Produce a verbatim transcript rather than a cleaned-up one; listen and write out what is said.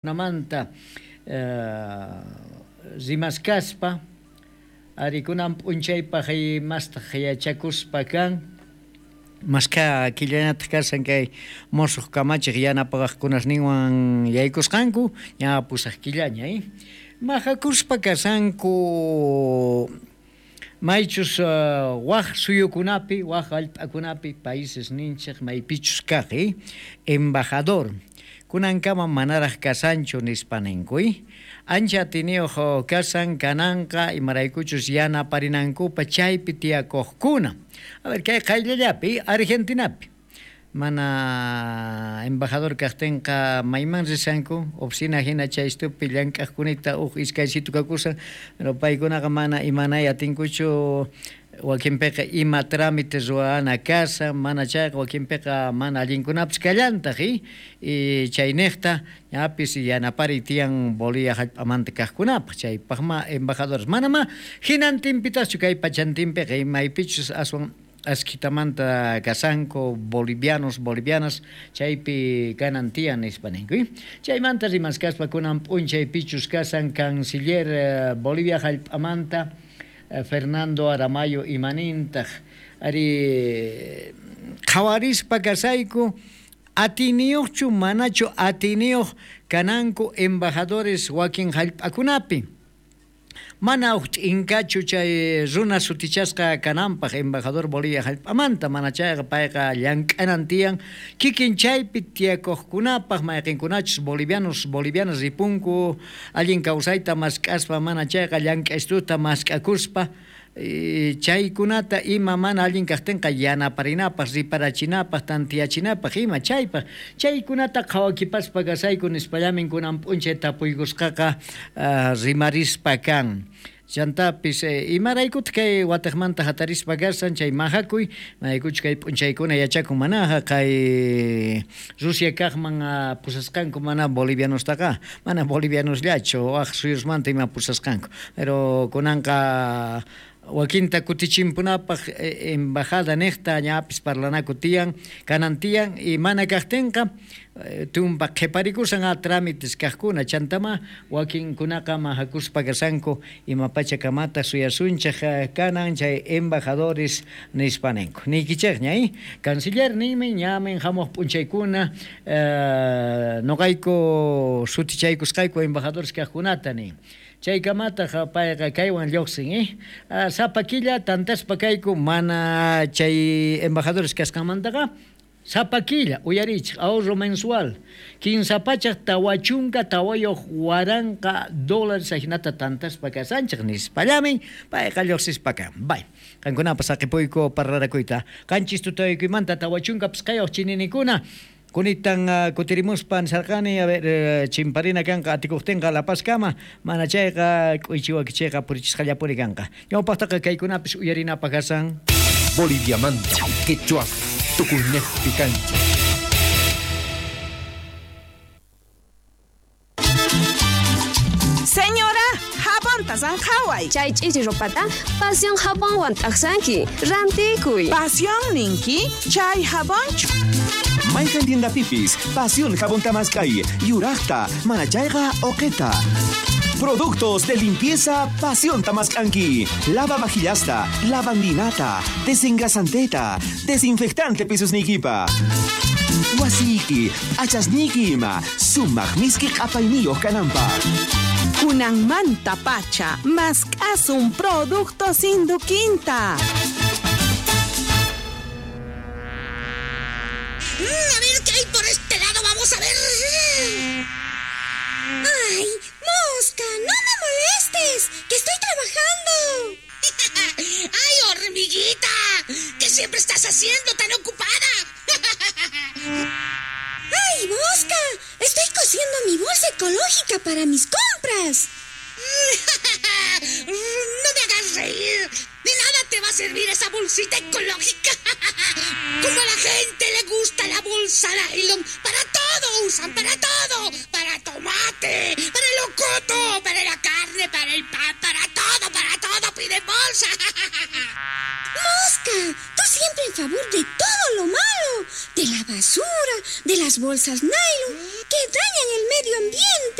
Namanta rimaskaspa arikunan p'unchaypaq mastaq yachakuspa kan maskha killanataq kashan kay musuq kamachiq yanapaqkunasninwan yaykusqanku ña pusaq killaña eh mahakuspa kashanku maychus waq suyukunapi waq hallp'akunapi países ninchik maypichus kaq eh embajador kunankama manaraq kasanchu nispa ninku ancha atiniyuq kasan kananqa imaraykuchus yanaparinankupa chaypi tiyakuqkuna. A ver, kay qayllallapi Argentinapi mana embajador kaqtinqa mayman rishanku oficina hina chaystupi llank'aqkunita uj iskaysitu kakusan pero paykunaqa mana imanay atinkuchu wakinpiqa ima trámite ruwana kasa mana chayqa wakinpiqa mana allinkunapis kallantaq y chayniqta ñapis yanapari tiyan Bolivia hallp'amanta kaqkunapaq chaypaqma embajadores manama hinantinpitaqchu kay pachantinpiqa maypichus aswan askitamanta kasanku bolivianos bolivianas chaypi kanan tiyan nispa ninku chaymanta rimaskaspa kunan p'unchaypichus kasan canciller Bolivia hallp'amanta Fernando Aramayo imanintaq ari qhawarispa kasayku atiniyuqchu manachu atiniyuq kananku embajadores wakin hallp'akunapi mana uj t'inkachu chay runa sutichasqa kananpaq embajador Bolivia hallp'amanta mana chayqa payqa llank'anan tiyan kikin chaypi tiyakuqkunapaq mayqinkunachus bolivianos bolivianas ripunku allin kawsayta mask'aspa mana chayqa llank'aystuta mask'akuspa chaykunata ima mana allin kaqtinqa yanaparinapaq riparachinapaq tantiyachinapaq ima chaypaq chaykunata qhawakipaspa kasayku nispallamin kunan p'unchay tapuykusqaqa rimarispa kan chantapis imaraykutaq kay wataqmanta hatarispa kasan chay mahakuy maykuchu kay p'unchaykuna yachakun manaqa kay Rusia kaqman pusasqanku mana bolivianostaqa mana bolivianosllachu waq suyusmanta ima pusasqanku pero kunanqa wakinta kutichimpunapaq embajada niqta ñapis parlanaku tiyan kanan tiyan y mana kaqtinqa tumpa qhiparikusan a trámites kaqkuna chantama wakinkunaqa mahakuspa kasanku ima pachakamata suyasunchik kanan chay embajadores nispa ninku niykichikña eh canciller ninmi ñamin hamuq p'unchaykuna nuqayku sutichaykusqayku embajadores kaqkunata nin chaykamataq payqa kaywan lluqsin eh sapa killa tantaspa kayku mana chay embajadores kasqanmantaqa sapa killa uyarichik ahorro mensual kinsa pachaq tawa chunka tawayuq waranqa dólares ajinata tantaspa kasanchik nispallamin payqa lluqsispa kan bay qankunapas saqipuyku parlarakuyta qanchis tutaykuymanta tawa chunka pisqayuq chininikuna kunitan kutirimuspa nisarqani a ver chimparina kanqa atikuqtinqa La Pazkama mana chayqa k'uychiwakichayqa purichisqallapuni kanqa ñawpaqtaqa kaykunapis uyarinapaq kasan Boliviamanta quechua tukuynejpi kanchik. Señora, jabonta sanjaway. Chay ch'ichi ropata Pasión jabonwan t'aqsanki. Rantikuy. Pasión ninki chay jabonchu. Mayqan tiendapipis Pasión jabón tamaskay, yuraqta, mana chayqa oqeta. Productos de limpieza Pasión Tamascanqui. Lava vajillasta, lavandinata, desengrasanteta, desinfectante pisos nikipa. Wasiki, achasniki ima, sumaq miski q'apayniyuq kananpaq. Kunanmanta pacha, mask'asun productos Induquinta. Mm, a ver qué hay por este lado, vamos a ver. ¡Ay, mosca! ¡No me molestes! ¡Que estoy trabajando! ¡Ay, hormiguita! ¿Qué siempre estás haciendo tan ocupada? ¡Ay, mosca! Estoy cosiendo mi bolsa ecológica para mis compras. ¡No me hagas reír! ¡De nada te va a servir esa bolsita ecológica! ¡Como a la gente le gusta la bolsa nylon! ¡Para todo usan! ¡Para todo! ¡Para tomate! ¡Para el locoto! ¡Para la carne! ¡Para el pan! ¡Para todo! ¡Para todo! ¡Piden bolsa! ¡Mosca! Tú siempre en favor de todo lo malo. De la basura, de las bolsas nylon,